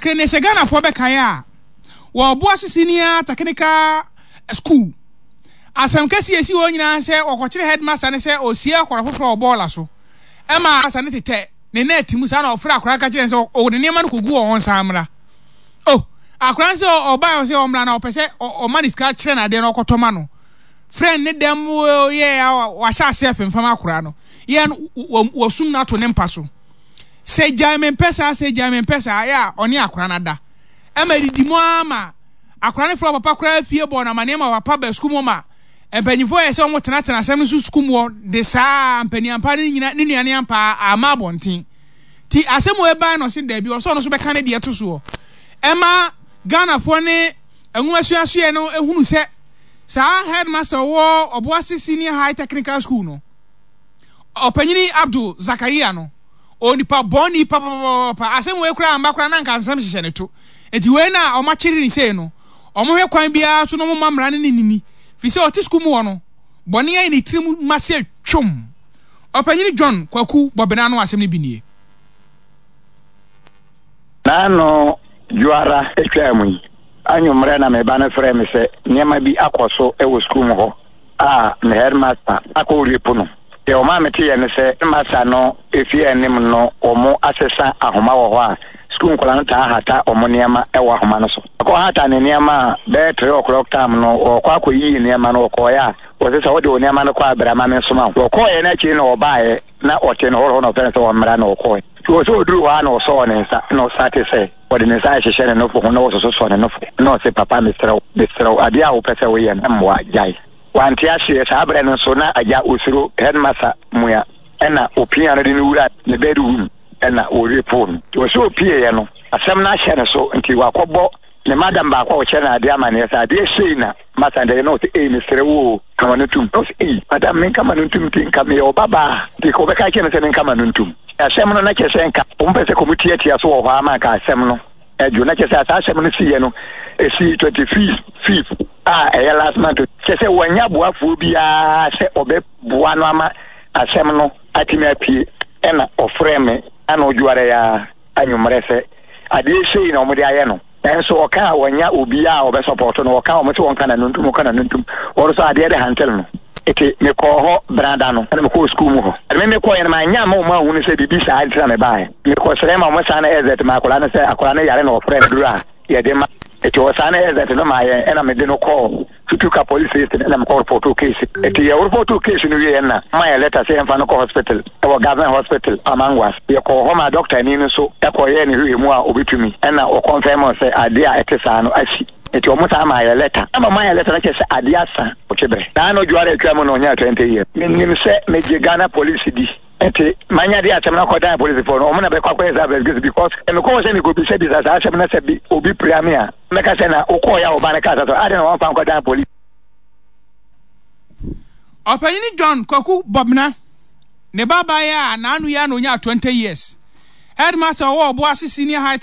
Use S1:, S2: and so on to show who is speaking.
S1: Kane sɛ Ghanafoɔ bɛkae a, wɔ Obuasi Senior Technical School, asɛm kɛseɛ a ɛsi hɔ nyinaa sɛ wɔkɔkyere headmaster no sɛ ɔresie akwadaa foforɔ wɔ bɔɔla so ma headmaster no tetɛ ne nɛɛte mu saa na ɔfrɛ akwadaa no ka kyerɛ no sɛ ɔde nneɛma no kɔgu hɔ ɔnsan mmra. Oh, akwadaa no sɛ ɔbaeɛ ɔsɛ ɔmmra na ɔpɛ sɛ ɔma ne sika kyerɛ no adeɛ na ɔkɔtɔ ma no. Frɛ ne dɛm yɛ a wahyɛ aseɛ femfam akwadaa no. Yɛ no wɔsum no ato ne mpa so. Sɛ gyae mempɛ saa, sɛ gyae mempɛ saa, yɛ a ɔne akwadaa no ada. Ɛma ɛdidi mu ara ma akwadaa no frɛ ɔpapa koraa fie bɔ no amaneɛ ma ɔpapa ba sukuu mu ma mpanyinfoɔ yɛ sɛ wɔn tenatena asɛm no so sukuu mu hɔ de saa mpaniampa no nyina ne nua ne ampa ama abɔnten. Ti asɛm wɔ ɛbae na ɔse daabi ɔsɛ ɔno nso bɛka ne deɛ to soɔ. Ɛma Ghanafoɔ ne nwoma suasuɛ no ehunu sɛ saa headmaster ɔwɔ Ɔboase Senior High Technical School no Ɔpanyini Abdul Zakaria no, onipa bɔne papapapapa. Asɛm wei koraa amba koraa na anka nsɛm hyehyɛ ne to. Enti wei na wɔn akyere ne sei no, wɔn hwɛ kwan biara so na wɔn ma mmara no ne nini. Firi sɛ ɔte sukuu mu hɔ no, bɔne ayɛ ne tirim ma sɛ twom. Ɔpanyini John Kwaku Bɔbena no asɛm no bi nie.
S2: N'ano dwoara twaa mu yi, anwummerɛ na me ba no frɛɛ me sɛ nneɛma bi akɔ so wɔ sukuu mu hɔ a me headmaster akɔ rape no. Deɛ ɔmaa meteeɛ ne sɛ headmaster no fie anim no wɔasesa ahoma wɔ hɔ a sukuu nkwadaa no taa hata wɔn nneɛma wɔ ahoma no so. Ɔkɔhata ne nneɛma a bɛyɛ 3 o'clock time no ɔrekɔ akɔyiyi nneɛma no ɔkɔeɛ a wɔse sɛ wode wo nneɛma no kɔ a bra ma mensoma wo. Ɔkɔeɛ no akyiri na ɔbaeɛ na ɔte no hɔ na ɔfrɛ no sɛ ɔmmra na ɔkɔe. Nti wɔ sɛ ɔduruu hɔ a na ɔsɔɔ ne nsa na ɔsate sɛ ɔde ne nsa rehyehyɛ ne nofo ho na ɔsososɔ ne nofo na ɔse papa mesrɛ wo mesrɛ wo adeɛ a wopɛ sɛ woyɛ no mmoa gyae. Wante aseɛ saa berɛ no nso na agya ɔsuro headmaster mua ɛna ɔpia no de no wura ne bed room ɛna ɔrepoo no. Nti wɔ sɛ ɔpieeɛ no asɛm no ahyɛ ne so nti wakɔbɔ ne madam baako a ɔkyerɛ no adeɛ amaneɛ sɛ adeɛ sei na masa nti na ɔse ei mesrɛ wo o ka ma no ntom. Na ɔse ei madam menka ma no ntom nti nka meyɛ wo babaa a nti nka wobɛka akyerɛ me sɛ menka ma no ntom. Asɛm no na kyerɛ sɛ nka wɔn pɛ sɛ wɔn tiatia so wɔ hɔ ara ma nka asɛm no adwo. Na kyerɛ sɛ saa asɛm no siiɛ no ɛsii 25th a ɛyɛ last month. Kyerɛ sɛ wɔanya boafoɔ biara sɛ ɔbɛboa no ama asɛm no atumi apue. Ɛna ɔfrɛɛ me anɔdwo ara yi ara anwummerɛ sɛ adeɛ sei na wɔde ayɛ no. Nanso ɔka a wɔnya obiaa a ɔbɛsɔpɔto no, ɔka wɔn sɛ wɔnka n'ano ntom, ɔka n'ano ntom, wɔn nso adeɛ de hantel no. Eti mekɔɔ hɔ benada no, ɛna mekɔɔ sukuu mu hɔ. Ɛna me mekɔeɛ no, manyɛ amma wɔn anhunu sɛ biribi saa nti na mebaeɛ. Mekɔsrɛɛ ma wɔsan exit maa akwadaa no sɛ akwadaa no yare na wɔfrɛɛ no aduro a yɛde ma. Eti wɔsan exit no maa yɛn, ɛna mede no kɔɔ Tutuka police station ɛna mekɔ repɔtoo case. Eti yɛ repɔtoo case no wieɛ na wɔma yɛn letter sɛ yɛmfa no kɔ hospital ɛwɔ government hospital Amangwas. Yɛkɔɔ hɔ maa doctor ni no nso ɛkɔ yɛɛ ne hwehwɛmu a obetumi ɛna ɔconfirm sɛ adeɛ a ɛte saa no asi. Eti wɔn san maa yɛn letter. Ɛna wɔmaa yɛn letter no kyerɛ sɛ adeɛ asa ɔtwe berɛ. Naa no dwoara atwa mu na ɔnyaa 20 years. Menim sɛ megye Ghana police di. Nti manya de asɛm no akɔdan apolisifoɔ no, wɔn na bɛkɔ akɔyɛ saa investigation because mekɔ hɔ sɛ mekɔbisabisa saa asɛm no sɛ bi obi pira me a, mɛka sɛ na wokɔɔeɛ a ɔba no kaa saa sɛ adɛn na wɔamfa ankɔdan police.
S1: Ɔpanyin John Kwaku Bɔbena, ne ba abaayewa a n'ano yi ara na onyaa 20 years, headmaster a ɔwɔ Obuasi Senior High.